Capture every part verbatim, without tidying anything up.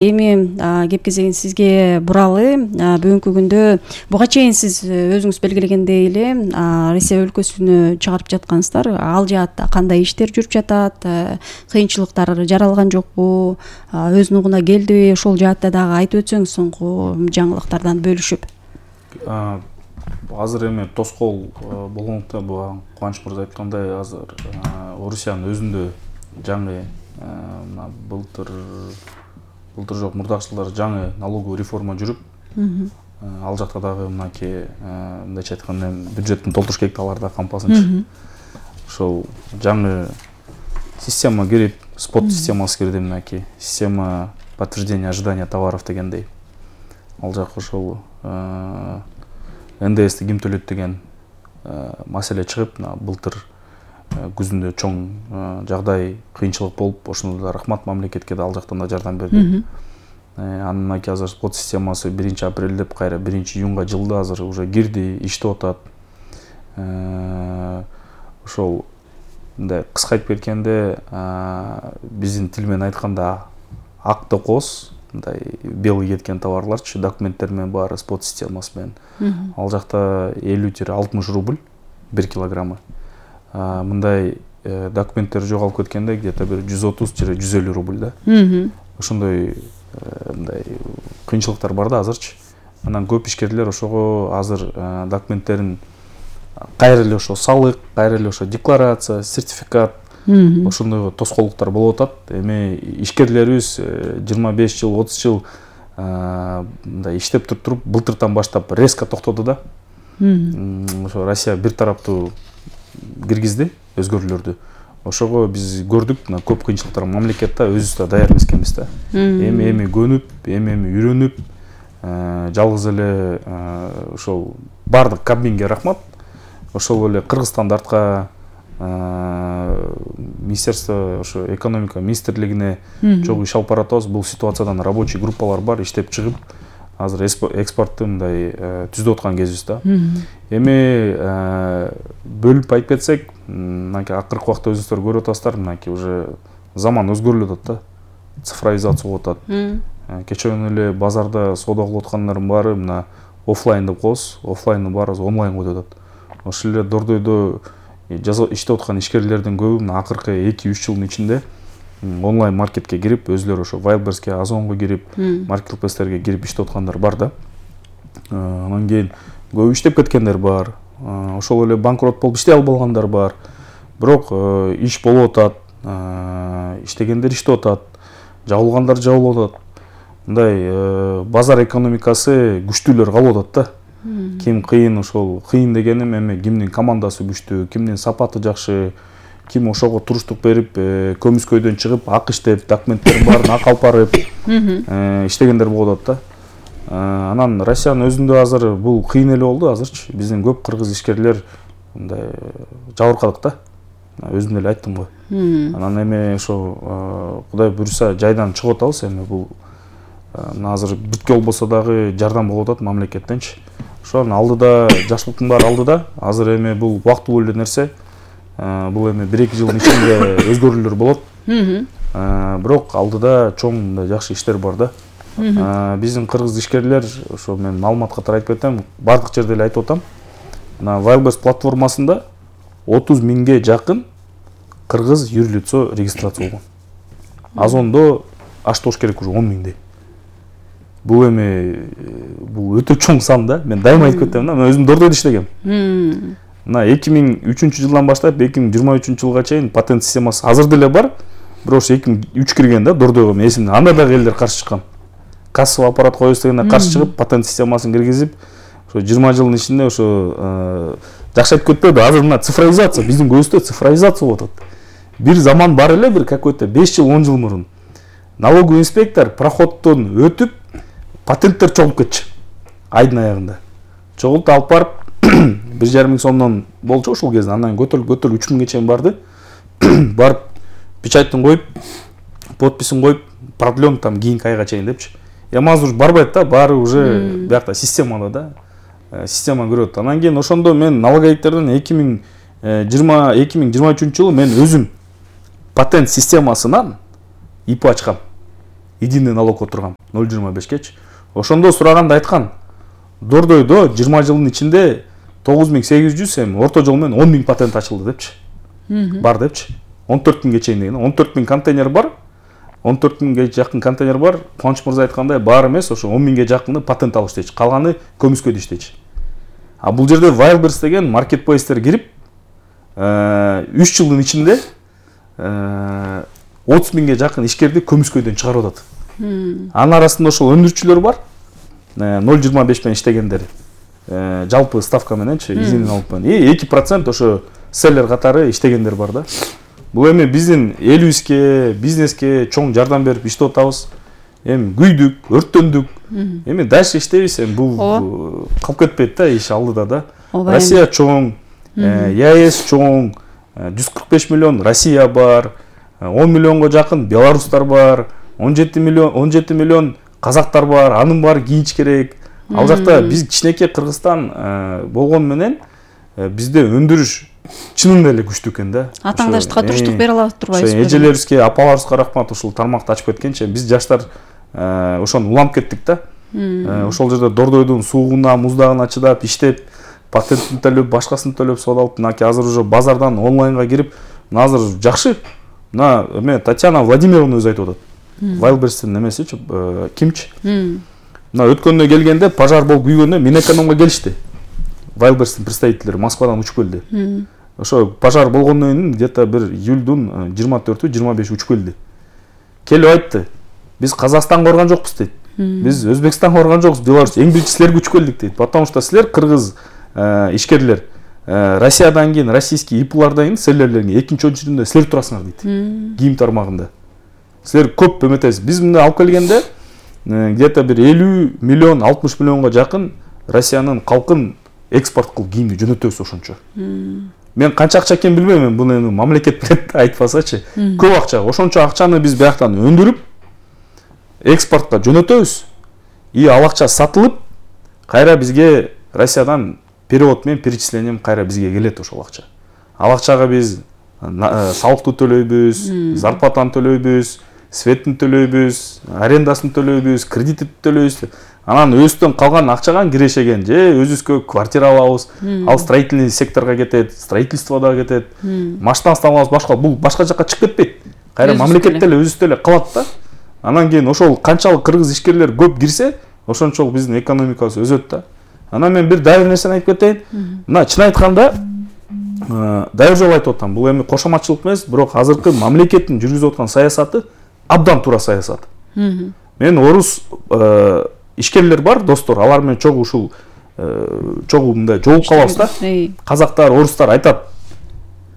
Эми кеп кезегин сизге буралы. Бүгүнкү күндө буга чейин сиз өзүңүз белгилегендей эле Россия өлкөсүнө чыгарып жаткансыздар. Ал жаатта кандай иштер жүрүп жатат? Кыйынчылыктар жаралган жокпу? Өз нугуна келдиби? Ошол жаатта дагы айтып өтсөңүз соңку жаңылыктардан бөлүшүп. Азыр эми тоскоол болгондуктан буга Кубаныч мырза айткандай азыр Орусиянын өзүндө жаңы былтыр Былтыр жок, мурдакы жылдары жаңы налоговый реформа жүрүп, ал жакта дагы мынакей мындайча айтканда бюджеттин толтуруш керек алар да кампасынчы. Ошол жаңы система кирип, спот системасы кирди, мынакей система подтверждения ожидания товаров дегендей. Ал жак ошол эн дэ эсти ким төлөйт деген маселе чыгып, былтыр күзүндө чоң жагдай кыйынчылык болуп, ошондо да рахмат мамлекетке да ал жактан да жардам берди. Анын мынакей азыр спот системасы биринчи апрель деп кайра биринчи июнга жылды азыр уже кирди, иштеп атат. Ошол мындай кыска айтып кеткенде, биздин тил менен айтканда ак токос, мындай белый кеткен товарларчы, документтер менен баары спот системасы менен. Ал жакта элүү — алтымыш рубль бир килограммы. Мындай документтер жоголуп кеткенде где-то бир жүз отуз — жүз элүү рубль да. Ошондой мындай кыйынчылыктар бар да азырчы. Анан көп ишкерлер ошого азыр документтерин кайра эле ошо салык, кайра эле ошо декларация, сертификат, ошондой тоскоолдуктар болуп атат. Эми ишкерлерибиз жыйырма беш жыл, отуз жыл мындай иштеп туруп, былтыртан баштап резко токтоду да. Ошо Россия бир тараптуу киргизди өзгөрүүлөрдү. Ошого биз көрдүк, мына көп кыйынчылыктар мамлекетте өзүбүз да даяр эмес экенбиз да. Эми эми көнүп, эми эми үйрөнүп, жалгыз эле ошол бардык Кабминге рахмат. Ошол эле Кыргызстанды артка министерство, ошо экономика министрлигине чогуу иш алып баратабыз. Бул ситуациядан рабочий группалар бар, иштеп чыгып, азыр экспортты мындай түзүп аткан кезибиз да. Эми бөлүп айтып кетсек, мынакей акыркы убакта өзүңүздөр көрүп атасыздар, мынакей уже заман өзгөрүлүп атат да. Цифровизация болуп атат. Кечен эле базарда соода кылып аткандардын баары мына офлайн деп коебуз, офлайндын баары онлайнга өтүп атат. Ошол эле дордойдо иштеп аткан ишкерлердин көбү мына акыркы эки үч жылдын ичинде онлайн маркетке кирип, өзүлөрү ошо Wildberriesке, Озонго кирип, маркетплейстерге кирип иштеп аткандар бар да. Анан кийин көп иштеп кеткендер бар. Ошол эле банкрот болуп иштей албагандар бар. Бирок иш болуп атат, иштегендер иштеп атат, жабылгандар жабылып атат. Мындай базар экономикасы күчтүүлөр калып атат да. Ким кыйын, ошол кыйын дегеним эми кимдин командасы күчтүү, кимдин сапаты жакшы, ким ошого туруштук берип, көмүскөйдөн чыгып, ак иштеп, документтерин баарын ак алып барып иштегендер болуп атат да. Анан Россиянын өзүндө азыр бул кыйын эле болду азырчы. Биздин көп кыргыз ишкерлер мындай жабыркадык да. Өзүм эле айттым го. Анан эми ошо Кудай буйруса жайдан чыгып атабыз. Эми бул азыр бүткө болбосо дагы жардам болуп атат мамлекеттенчи. Ошонун алдыда жакшылыктын баары алдыда. Азыр эми бул убактылуу эле нерсе. Бул эми бир эки жылдын ичинде өзгөрүүлөр болот. Бирок алдыда чоң жакшы иштер бар да. Биздин кыргыз ишкерлер, ошо мен маалымат катары айтып кетем, бардык жерде эле айтып атам. Мына Wildberries платформасында отуз миңге жакын кыргыз юрлицо регистрация болгон. Озондо аштош керек уже он миңдей. Бул эми бул өтө чоң сан да. Мен дайыма айтып кетем да, мен өзүм дордойдо иштегем. Мына эки миң үчүнчү жылдан баштап эки миң жыйырма үчүнчү жылга чейин патент системасы азыр деле бар. Бирок ошо эки миң үч кирген да дордойго, мен эсимде. Анда дагы элдер каршы чыккан. Кассовый аппарат коебуз дегенде каршы чыгып, патент системасын киргизип, ошо жыйырма жылдын ичинде ошо жакшы айтып кетпеди. Азыр мына цифровизация, биздин көбүстө цифровизация болуп атат. Бир заман бар эле, бир какой-то беш жыл, он жыл мурун. Налоговый инспектор проходтон өтүп, патенттер чогулуп кетчү. Айдын аягында. Чогултуп алып барып, бир жарым миң сомдон болчу ошол кезде. Андан көтөрүлүп, көтөрүлүп үч миңге чейин барды. Барып, печаттын коюп, подписин коюп, продлен там кийинки айга чейин депчи. Эми азыр барбайт да, баары уже биякта системада да. Система көрөт. Анан кийин ошондо мен налоговиктерден эки миң жыйырма үчүнчү жылы мен өзүм патент системасынан ип ачкам. единый налог отургам ноль жыйырма бешкечи. Ошондо сураганда айткан, Дордойдо жыйырма жылдын ичинде тогуз миң сегиз жүз эми орто жол менен он миң патент ачылды депчи. Бар депчи. он төрт миңге чейин деген. он төрт миң контейнер бар. он төрт миңге жакын контейнер бар. Кубаныч мырза айткандай баары эмес, ошо он миңге жакыны патент алып иштечи. Калганы көмүскөдө иштечи. А бул жерде Wildberries деген маркетплейстер кирип, үч жылдын ичинде отуз миңге жакын ишкерди көмүскөдөн чыгарып атат. Анын арасында ошол өндүрүүчүлөр бар. ноль жыйырма беш менен иштегендер. Жалпы ставка мененчи, изин алып менен. И эки процент ошо селлер катары иштегендер бар да. Бул эми биздин элибизге, бизнеске чоң жардам берип иштеп атабыз. Эми күйдүк, өрттөндүк. Эми дальше иштейбиз, эми бул калып кетпейт да, иш алдыда да. Россия чоң, ЕАЭС чоң, жүз кырк беш миллион Россия бар, он миллионго жакын белорустар бар, он жети миллион, он жети миллион казактар бар, анын баары кийинч керек. Ал жакта биз кичинекей Кыргызстан болгон менен бизде өндүрүш чынында эле күчтүү экен да. Атаңдаштыкка туруштук бере алат турбайбызбы? Эжелерибизге, апаларыбызга рахмат, ушул тармакты ачып кеткенче биз жаштар ошону уланып кеттик да. Ошол жерде Дордойдун суугуна, муздагына чыдап иштеп, патентин төлөп, башкасын төлөп содалып, мынакей азыр уже базардан онлайнга кирип, мына азыр жакшы. Мына эме Татьяна Владимировна өзү айтып атат. Wildberries'тин немесичи, кимчи? Мына өткөндө келгенде пожар болуп күйгөндө Минэкономго келишти. Wildberries'тин представителдери Москвадан учуп келди. Ошо пожар болгондон кийин где-то бир июлдун жыйырма төртү жыйырма беши учуп келди. Келип айтты. Биз Казакстанга барган жокпуз дейт. Биз Өзбекстанга барган жокпуз, Беларусь эң биринчи силерге учуп келдик дейт. Потому что силер кыргыз ишкерлер Россиядан кийин, российский ИПлардан кийин селлерлерге экинчи очерединде силер турасыңар дейт. Кийим тармагында. Силер көп эметесиз. Биз мында алып келгенде где-то бир элүү миллион, алтымыш миллионго жакын Россиянын калкын экспорт кылып кийимди жөнөтөбүз ошончо. Мен канча акча экенин билбейм, буну эми мамлекет билет айтпасачы. Көп акча. Ошончо акчаны биз бияктан өндүрүп экспортко жөнөтөбүз. И ал акча сатылып, кайра бизге Россиядан перевод менен перечислением кайра бизге келет ошол акча. Ал акчага биз салыкты төлөйбүз, зарплатаны төлөйбүз, светтин төлөйбүз, арендасын төлөйбүз, кредитти төлөйбүз. Анан өзүбүздөн калган акчага кирешеген же өзүбүзгө квартира алабыз. Ал строительный секторго кетет, строительстводо кетет. Машинасын алабыз, башка бул башка жакка чыгып кетпейт. Кайра мамлекетте эле өзүбүздө эле калат да. Анан кийин ошол канчалык кыргыз ишкерлер көп кирсе, ошончолук биздин экономикабыз өсөт да. Анан мен бир дайыр нерсени айтып кетейин. Мына чын айтканда дайыр жолу айтып атам. Бул эми кошоматчылык эмес, бирок азыркы мамлекеттин жүргүзүп аткан саясаты абдан туура саясат. Мен орус ишкерлер бар, достор, алар менен чогуу ушул чогуу мындай жолугуп калабыз да. Казактар, орустар айтат.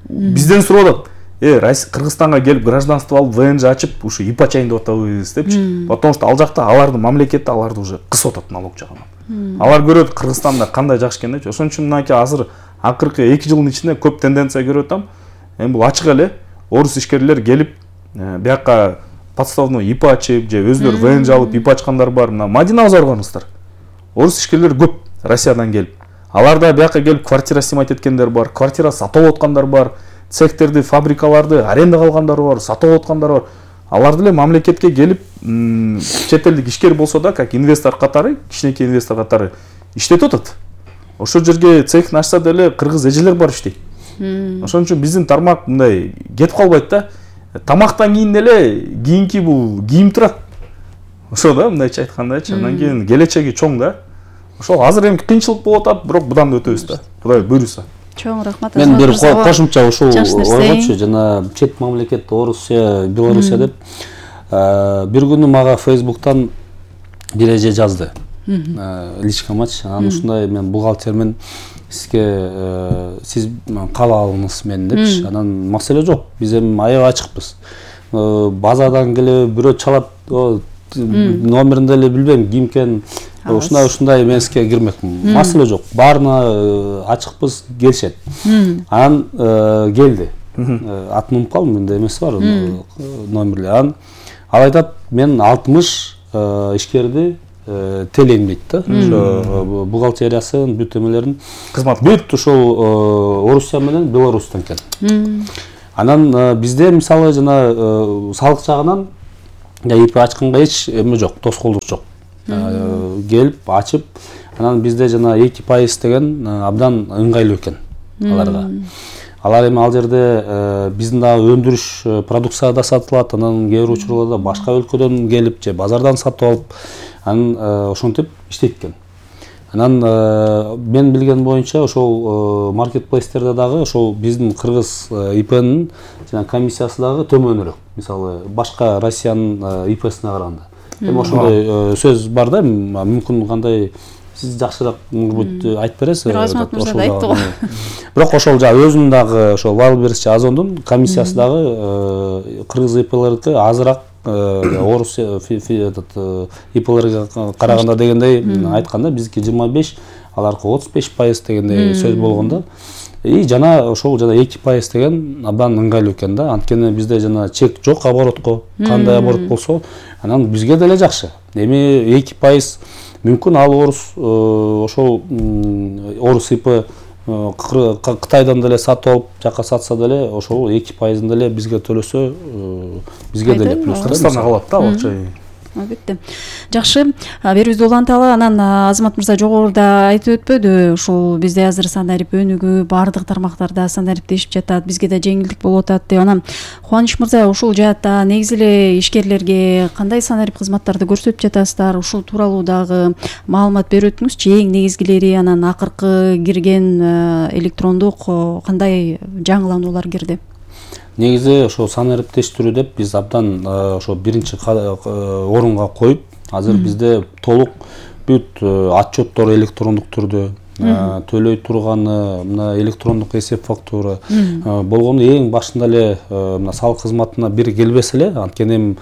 Бизден сурап атат. Э, Кыргызстанга келип гражданство алып, ВНЖ ачып, ушу ИП ачайын деп атабыз депчи. Потому что ал жакта алардын мамлекети аларды уже кысып атат налог жагынан. Алар көрөт Кыргызстанда кандай жакшы экен депчи. Ошон үчүн мынакей азыр акыркы эки жылдын ичинде көп тенденция көрүп атам. Эми бул ачык эле орус ишкерлер келип, бияка подставной ИП ачып, же өзүлөр ВНЖ алып ИП ачкандар бар. Мына Мадинага баргансыздар. Орус ишкерлер көп Россиядан келип. Аларда бияка келип квартира снимать эткендер бар, квартира сатып аткандар бар, цехтерди, фабрикаларды арендага алгандар бар, сатып аткандар бар. Алар деле мамлекетке келип, чет элдик ишкер болсо да, как инвестор катары, кичинекей инвестор катары иштетип атат. Ошол жерге цехин ачса деле кыргыз эжелер бар иштейт. Ошон үчүн биздин тармак мындай кетип калбайт да. Тамактан кийин деле кийинки бул кийим турат. Ошо да, мындайча айткандачы, андан кийин келечеги чоң да. Ошол азыр эми кыйынчылык болуп атат, бирок будан да өтөбүз да. Кудай буйруса. Чоң рахмат. Мен бир кошумча ушул ойгочу, жана чет мамлекет Орусия, Белоруссия деп бир күнү мага Facebook'тан бир эже жазды. Личкамач, анан ушундай мен бухгалтермен, сизге сиз каалабыңыз мени депчи. Анан маселе жок. Биз эми аябай ачыкпыз. Базадан келип бирөө чалат, номерин деле билбейм, ким экен. Ушундай ушундай мен сизге кирмекмин. Маселе жок. Баарына ачыкпыз, келишет. Анан келди. Атын унутуп калдым, менде эмеси бар номерлер. Анан ал айтат, мен алтымыш ишкерди телейм дейт да. Ошо бухгалтериясын, бүт эмелерин кызмат бүт ушул Орусия менен Беларустан экен. Анан бизде мисалы жана салык жагынан ИП ачканга эч эме жок, тоскоолдук жок. Келип ачып, анан бизде жана эки пайыз деген абдан ыңгайлуу экен аларга. Алар эми ал жерде биздин дагы өндүрүш продукция да сатылат, анан кээ бир учурларда башка өлкөдөн келип же базардан сатып алып, анан ошентип иштейт экен. Анан мен билген боюнча ошол маркетплейстерде дагы ошол биздин кыргыз ИПнин жана комиссиясы дагы төмөнүрөөк. Мисалы башка Россиянын ИПсине караганда. Эми ошондой сөз бар да, мүмкүн кандай сиз жакшыраак айтып бересиз. Бир Азамат мырза да айтты го. Бирок ошол жагы өзүмдүн ошол Валберис Озондун комиссиясы дагы кыргыз ИПлерге азыраак орус этот ИПлерге караганда дегендей айтканда, биздики жыйырма беш, аларкы отуз беш пайыз дегендей сөз болгондо. И жана ошол жана эки пайыз деген абдан ыңгайлуу экен да. Анткени бизде жана чек жок оборотко. Кандай оборот болсо, анан бизге деле жакшы. Эми эки пайыз мүмкүн ал орус ошол орус ИП Кытайдан деле сатып алып жака сатса деле ошол эки пайызын деле бизге төлөсө бизге деле плюс. Кыргызстанда калат да акча. Албетте. Жакшы, берүүбүздү уланталы. Анан Азамат мырза жогоруда айтып өтпөдү, ушул бизде азыр санарип өнүгүү, баардык тармактарда санариптешип жатат, бизге да жеңилдик болуп атат деп. Анан Кубаныч мырза, ушул жаатта негизи эле ишкерлерге кандай санарип кызматтарды көрсөтүп жатасыздар? Ушул тууралуу дагы маалымат берип өтүңүзчү. Эң негизгилери, анан акыркы кирген электрондук кандай жаңылануулар кирди? Негизи ошо санариптештирүү деп биз абдан ошо биринчи орунга коюп, азыр бизде толук бүт отчеттор электрондук түрдө, төлөй турганы мына электрондук эсеп фактура болгону эң башында эле мына салык кызматына бир келбесе эле, анткени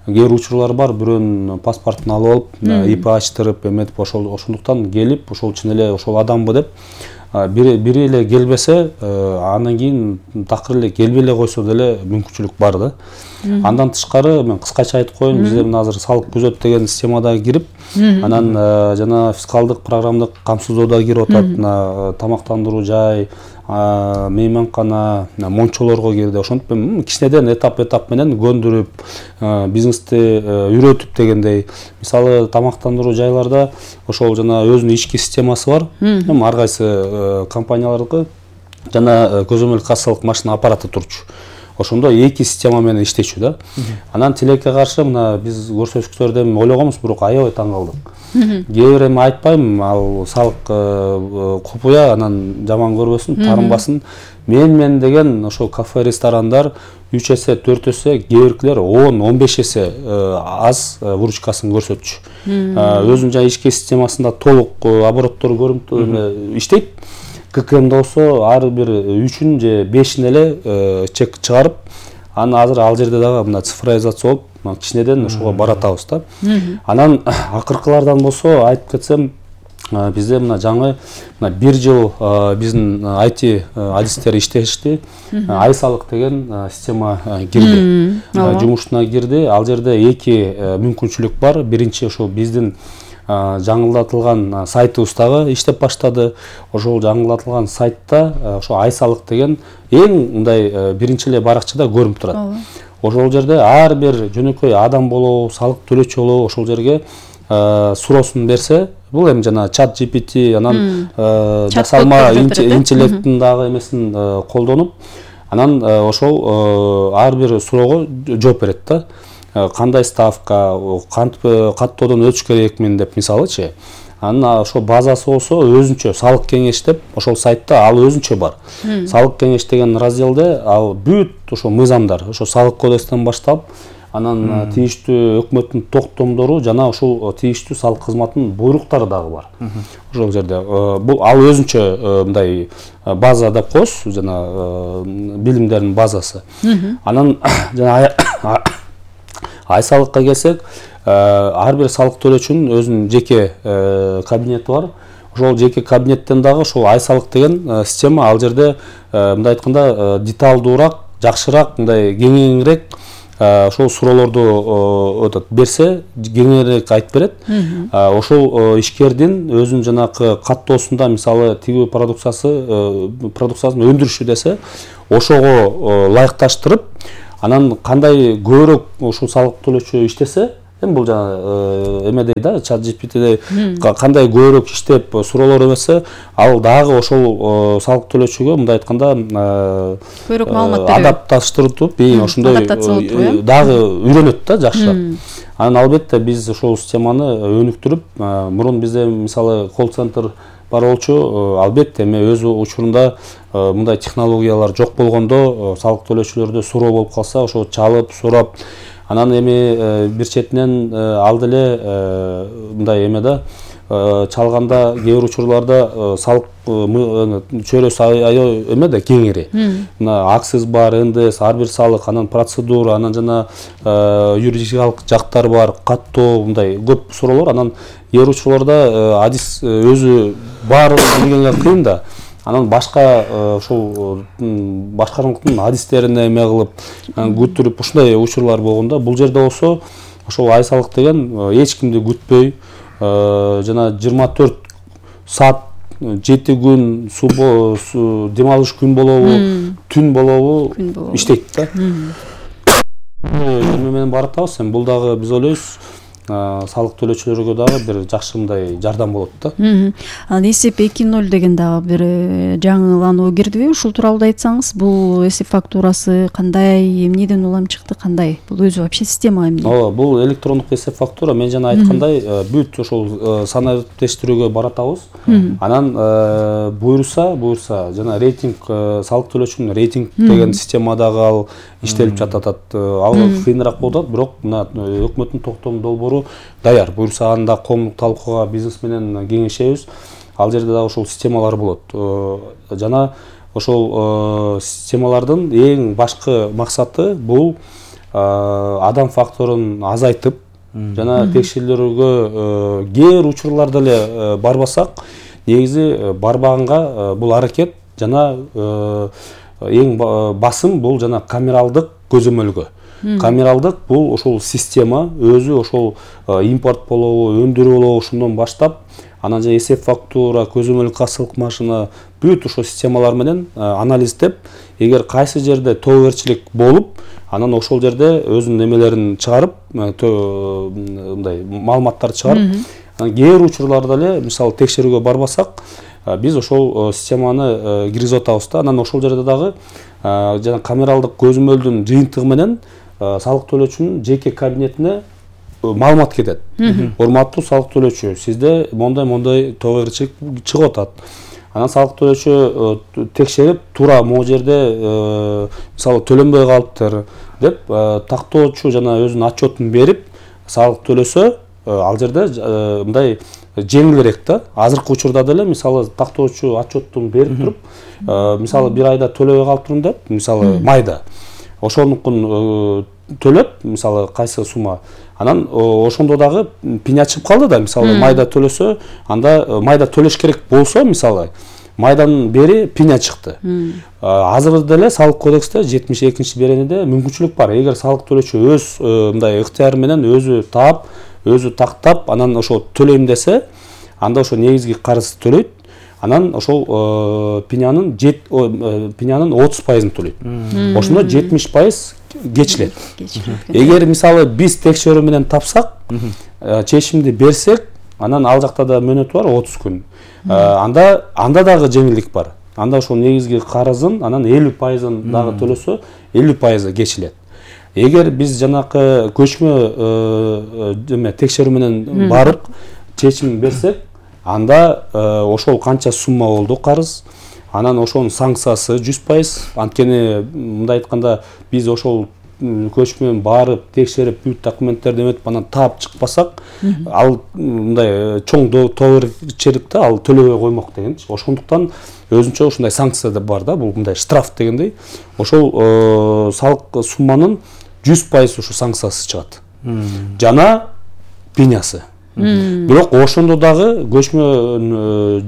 кээ бир учурлар бар, бирөөнүн паспортун алып алып, ИП ачтырып, эметип ошол ошондуктан келип, ошол үчүн эле ошол адамбы деп бири бири эле келбесе, андан кийин такыр эле келбей эле койсо деле мүмкүнчүлүк бар да. Андан тышкары мен кыскача айтып коеюн, бизде мына азыр салык күзөт деген системада кирип, анан жана фискалдык программдык камсыздоодо кирип атат, мына тамактандыруу жай, мейманкана, мончолорго кирди. Ошентип кичинеден этап-этап менен көндүрүп, бизнести үйрөтүп дегендей. Мисалы тамактандыруу жайларда ошол жана өзүнүн ички системасы бар. Эми ар кайсы компаниялардыкы жана көзөмөл кассалык машина аппараты турчу. Ошондо эки система менен иштечү да. Анан тилекке каршы мына биз көрсөтүктөрдө ойлогонбуз, бирок аябай таң калдык. Кээ бир эми айтпайм, ал салык купуя анан жаман көрбөсүн, тарынбасын. Мен мен деген ошо кафе, ресторандар үч эсе, төрт эсе, кээ биркилер он, он беш эсе аз выручкасын көрсөтчү. Өзүнүн жана ички системасында толук обороттор көрүнүп иштейт. ККМ болсо ар бир үчүн же бешин эле чек чыгарып, аны азыр ал жерде дагы мына цифровизация болуп, кичинеден ошого баратабыз да. Анан акыркылардан болсо айтып кетсем, бизде мына жаңы мына бир жыл биздин ай ти адистер иштешти. Ай салык деген система кирди. Жумушуна кирди. Ал жерде эки мүмкүнчүлүк бар. Биринчи ошо биздин жаңылдатылган сайтыбыз дагы иштеп баштады. Ошол жаңылдатылган сайтта ошо ай салык деген эң мындай биринчи эле баракчада көрүнүп турат. Ошол жерде ар бир жөнөкөй адам болобу, салык төлөөчү болобу ошол жерге суроосун берсе, бул эми жана чат джи пи ти, анан жасалма интеллекттин дагы эмесин колдонуп, анан ошол ар бир суроого жооп берет да. Кандай ставка, кантип каттоодон өтүш керекмин деп мисалычы. Анан ошо базасы болсо өзүнчө салык кеңеш деп ошол сайтта ал өзүнчө бар. Салык кеңеш деген разделде ал бүт ошо мыйзамдар, ошо салык кодекстен баштап, анан тийиштүү өкмөттүн токтомдору жана ошол тийиштүү салык кызматынын буйруктары дагы бар. Ошол жерде бул ал өзүнчө мындай база деп коебуз, жана билимдердин базасы. Анан жана ай салыкка келсек, ар бир салык төлөөчүнүн өзүнүн жеке кабинети бар. Ошол жеке кабинеттен дагы ошол ай салык деген система ал жерде мындай айтканда деталдуураак, жакшыраак, мындай кеңирээк ошол суроолорду өтөт берсе, кеңирээк айтып берет. Ошол ишкердин өзүнүн жанакы каттоосунда мисалы тигүү продукциясы продукциясын өндүрүшү десе, ошого ылайыкташтырып, Анан кандай көбүрөөк ушул салык төлөөчү иштесе, эми бул жана эме дейт да, чат джи пи ти кандай көбүрөөк иштеп суроолор эметсе, ал дагы ошол салык төлөөчүгө мындай айтканда көбүрөөк маалымат берет. Адапташтырып, ошондой дагы үйрөнөт да жакшыраак. Анан албетте биз ошол системаны өнүктүрүп, мурун бизде мисалы колл-центр бар болчу, албетте эми өз учурунда мындай технологиялар жок болгондо салык төлөөчүлөрдө суроо болуп калса, ошо чалып, сурап, анан эми бир четинен ал деле мындай эме да, чалганда кээ бир учурларда салык чөйрөсү аябай эме да, кеңири. Мына акциз бар, эн дэ эс, ар бир салык, анан процедура, анан жана юридикалык жактар бар, каттоо, мындай көп суроолор. Анан кээ бир учурларда адис өзү баарын билгенге кыйын да. Анан башка ошол башкармалыктын адистерине эме кылып, күтүрүп ушундай учурлар болгондо, бул жерде болсо ошол ай салык деген эч кимди күтпөй, жана жыйырма төрт саат, жети күн, дем алыш күн болобу, түн болобу иштейт да. Эме менен баратабыз, эми бул дагы биз ойлойбуз салык төлөөчүлөргө дагы бир жакшы мындай жардам болот да. Анан эсеп эки ноль деген дагы бир жаңылануу кирдиби? Ушул тууралуу да айтсаңыз, бул эсеп фактурасы кандай, эмнеден улам чыкты, кандай? Бул өзү вообще система эмне? Ооба, бул электрондук эсеп фактура, мен жана айткандай, бүт ошол санариптештирүүгө баратабыз. Анан буйруса, буйруса жана рейтинг, салык төлөөчүнүн рейтинг деген система дагы ал иштелип жатат. Ал кыйыныраак болот, бирок мына өкмөттүн токтом долбоору даяр. Буюрса анда коомдук талкууга бизнес менен кеңешебиз. Ал жерде дагы ошол системалар болот. Жана ошол системалардын эң башкы максаты бул адам факторун азайтып, жана текшерүүлөргө кээ бир учурларда эле барбасак, негизи барбаганга бул аракет жана эң басым бул жана камералдык көзөмөлгө. Камералдык бул ошол система өзү ошол импорт болобу, өндүрүү болобу, ошондон баштап, анан же эсеп фактура, көзөмөл кассалык машина, бүт ошол системалар менен анализдеп, эгер кайсы жерде тобокерчилик болуп, анан ошол жерде өзүнүн эмелерин чыгарып, мындай маалыматтарды чыгарып, кээ бир учурларда эле, мисалы текшерүүгө барбасак, биз ошол системаны киргизип атабыз да. Анан ошол жерде дагы жана камералдык көзөмөлдүн жыйынтыгы менен салык төлөөчүнүн жеке кабинетине маалымат кетет. Урматтуу салык төлөөчү, сизде мондай-мондай тобокерчилик чыгып атат. Анан салык төлөөчү текшерип, туура могу жерде мисалы төлөнбөй калыптыр деп тактоочу жана өзүнүн отчетун берип, салык төлөсө, ал жерде мындай жеңилирээк да. Азыркы учурда деле мисалы тактоочу отчеттун берип туруп, мисалы бир айда төлөбөй калыптырмын деп, мисалы майда ошонукун төлөп, мисалы кайсы сумма, анан ошондо дагы пиня чыгып калды да, мисалы майда төлөсө, анда майда төлөш керек болсо, мисалы майдан бери пиня чыкты. Азыр деле салык кодексте жетимиш экинчи беренеде мүмкүнчүлүк бар. Эгер салык төлөөчү өз мындай ыктыяры менен өзү таап, өзү тактап, анан ошо төлөйм десе, анда ошо негизги карыз төлөйт. Анан ошол пинянын пинянын отуз пайызын төлөйт. Ошондо жетимиш пайыз кечилет. Эгер мисалы биз текшерүү менен тапсак, чечимди берсек, анан ал жакта да мөөнөт бар отуз күн. Анда анда дагы жеңилдик бар. Анда ошол негизги карызын анан элүү пайызын дагы төлөсө, элүү пайызы кечилет. Эгер биз жанакы көчмө эме текшерүү менен барып чечим берсек, анда ошол канча сумма болду карыз, анан ошонун санкциясы жүз пайыз. Анткени мындай айтканда биз ошол көчмөн барып текшерип бүт документтерди эметип анан таап чыкпасак, ал мындай чоң тобокерчиликте ал төлөбөй коймок дегенчи. Ошондуктан өзүнчө ушундай санкция да бар да, бул мындай штраф дегендей. Ошол салык сумманын жүз пайыз ушу санкциясы чыгат. Жана пенясы. Бирок ошондо дагы көчмө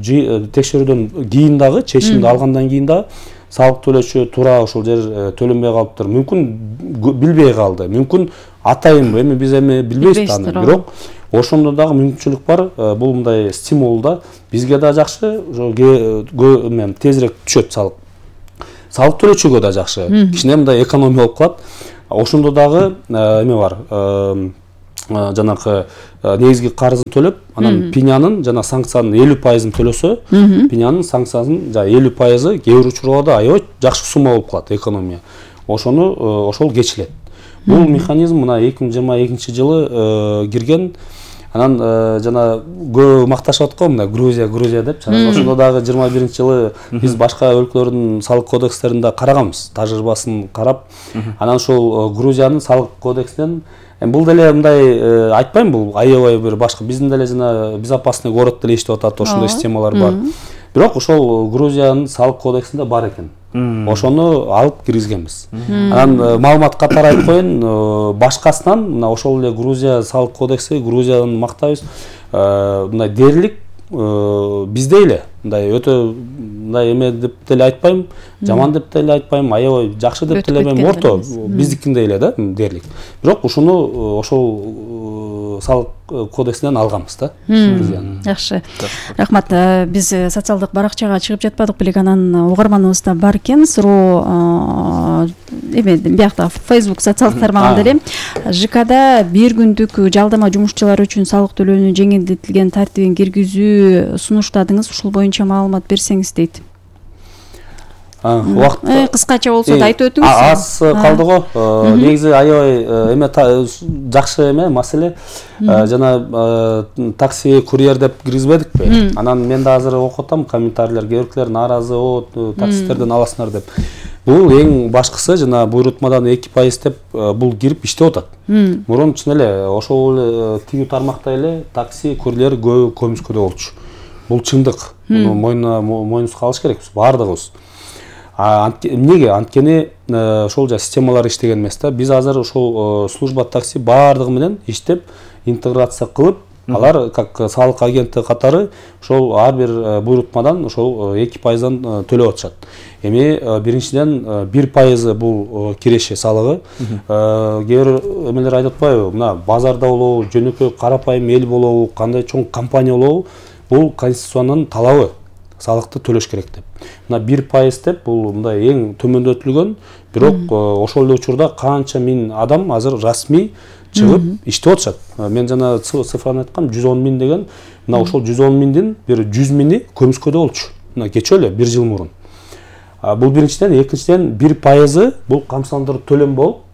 текшерүүдөн кийин дагы, чечимди алгандан кийин дагы салык төлөөчү туура ошол жер төлөнбөй калыптыр. Мүмкүн билбей калды, мүмкүн атайын, эми биз эми билбейбиз аны. Бирок ошондо дагы мүмкүнчүлүк бар. Бул мындай стимул да. Бизге да жакшы, тезирээк түшөт салык. Салык төлөөчүгө да жакшы. Кичине мындай экономия болуп калат. ошондо дагы эме бар, жанакы негизги карызын төлөп, анан пенянын жана санкциянын элүү пайызын төлөсө, пенянын санкциянын жана элүү пайызы кээ бир учурларда аябай жакшы сумма болуп калат экономия. Ошону ошол кечилет. Бул механизм мына эки миң жыйырма экинчи жылы кирген. Анан жана көп макташып аткан мына Грузия, Грузия деп. Ошондо дагы жыйырма биринчи жылы биз башка өлкөлөрдүн салык кодекстерин да караганбыз, тажрыйбасын карап. Анан ошол Грузиянын салык кодексинен бул деле мындай айтпайм, бул аябай бир башка биздин деле жана безопасный город деле иштеп атат, ошондой системалар бар. Бирок ошол Грузиянын салык кодексинде бар экен. Ошону алып киргизгенбиз. Анан маалымат катары айтып коеюн, башкасынан мына ошол эле Грузия салык кодекси, Грузияны мактайбыз. Мындай дээрлик бизде эле мындай өтө мындай эме деп деле айтпайм, жаман деп деле айтпайм, аябай жакшы деп деле эме орто, биздикиндей эле да дээрлик. Бирок ушуну ошол салык кодексинен алганбыз да. Жакшы. Рахмат. Биз социалдык баракчага чыгып жатпадык белек, анан угарманыбыз да бар экен. Суроо эме биякта Facebook социалдык тармагында эле ЖКда бир күндүк жалдама жумушчулар үчүн салык төлөөнү жеңилдетилген тартибин киргизүү сунуштадыңыз. Ушул боюнча маалымат берсеңиз дейт. Убакыт кыскача болсо да айтып өтүңүз. Аз калды го. Негизи аябай эме жакшы эме маселе. Жана такси, курьер деп киргизбедикпи? Анан мен да азыр окуп атам комментарийлер, кээ нааразы, о таксистерден аласыңар деп. Бул эң башкысы жана буйрутмадан эки пайыз деп бул кирип иштеп атат. Мурун чын эле ошол эле тигүү тармакта эле такси, курьер көбү көмүскөдө болчу. Бул чындык. Муну мойнуна мойнубузга алыш керекпиз баардыгыбыз. Эмнеге? Анткени ошол жа системалар иштеген эмес да. Биз азыр ошол служба такси баардыгы менен иштеп, интеграция кылып, алар как салык агенти катары ошол ар бир буйрутмадан ошол эки пайыздан төлөп атышат. Эми биринчиден бир пайызы бул киреше салыгы. Кээ бир эмелер айтып атпайбы? Мына базарда болобу, жөнөкөй карапайым эл болобу, кандай чоң компания болобу, бул конституциянын талабы. Салыкты төлөш керек деп. Мына бир пайыз деп бул мындай эң төмөндөтүлгөн, бирок ошол эле учурда канча миң адам азыр расмий чыгып иштеп атышат. Мен жана цифраны айткам, жүз он миң деген. Мына ошол жүз он миңдин бир жүз миңи көмүскөдө болчу. Мына кечө эле бир жыл мурун. Бул биринчиден, экинчиден бир пайызы бул камсыздандыруу төлөм болуп,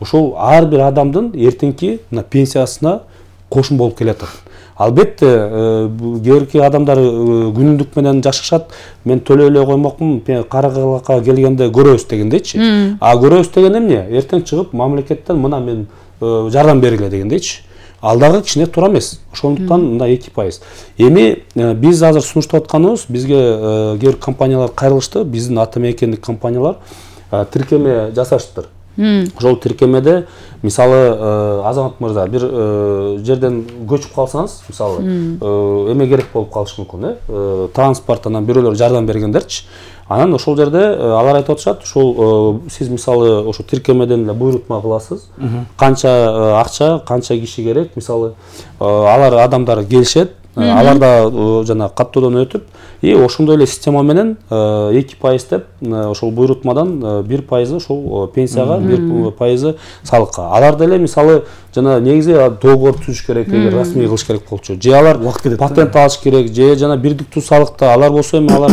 ошол ар бир адамдын эртеңки мына пенсиясына кошун болуп келатат. Албетте, кээ адамдар күнүндүк менен жашашат. Мен төлөй эле коймокмун, каракалакка келгенде көрөбүз дегендейчи. А көрөбүз деген эмне? Эртең чыгып мамлекеттен мына мен жардам бергиле дегендейчи. Ал дагы кичине туура эмес. Ошондуктан мындай эки пайыз. Эми биз азыр сунуштап атканыбыз, бизге кээ бир компаниялар кайрылышты, биздин ата мекендик компаниялар тиркеме жасаштыр. Ошол тиркемеде мисалы Азамат мырза бир жерден көчүп калсаңыз, мисалы эме керек болуп калышы мүмкүн, э, транспорттан бирөөлөр жардам бергендерчи. Анан ошол жерде алар айтып атышат, ошол сиз мисалы ошо тиркемеден эле буйрутма кыласыз. Канча акча, канча киши керек, мисалы алар адамдар келишет, алар да жана каттоодон өтүп, и ошондой эле система менен эки пайыз деп ошол буйрутмадан бир пайызы ошол пенсияга, бир пайызы салыкка. Алар деле мисалы жана негизи договор түзүш керек, эгер расмий кылыш керек болчу. Же алар патент алыш керек, же жана бирдиктүү салыкта алар болсо эми алар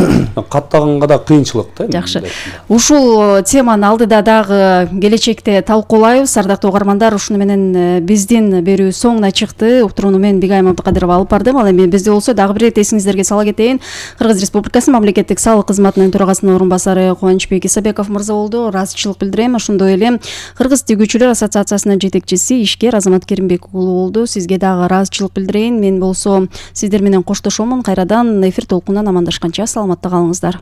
каттаганга да кыйынчылык да. Жакшы. Ушул теманы алдыда дагы келечекте талкуулайбыз. Ардактуу угармандар, ушуну менен биздин берүү соңуна чыкты. Уктурууну мен Бигайым Абдыкадырова алып бардым. Ал эми бизде болсо дагы бир рет эсиңиздерге сала кетейин. Кыргыз Республикасынын мамлекеттик салык кызматынын төрагасынын орун басары Кубанычбек Исабеков мырза болду. Ыраазычылык билдирем. Ошондой эле Кыргыз тигүүчүлөр ассоциациясынын жетекчиси ишкер Азамат Керимбек уулу болду. Сизге дагы ыраазычылык билдирейин. Мен болсо сиздер менен коштошомун. Кайрадан эфир толкунунан амандашканча саламатта калыңыздар.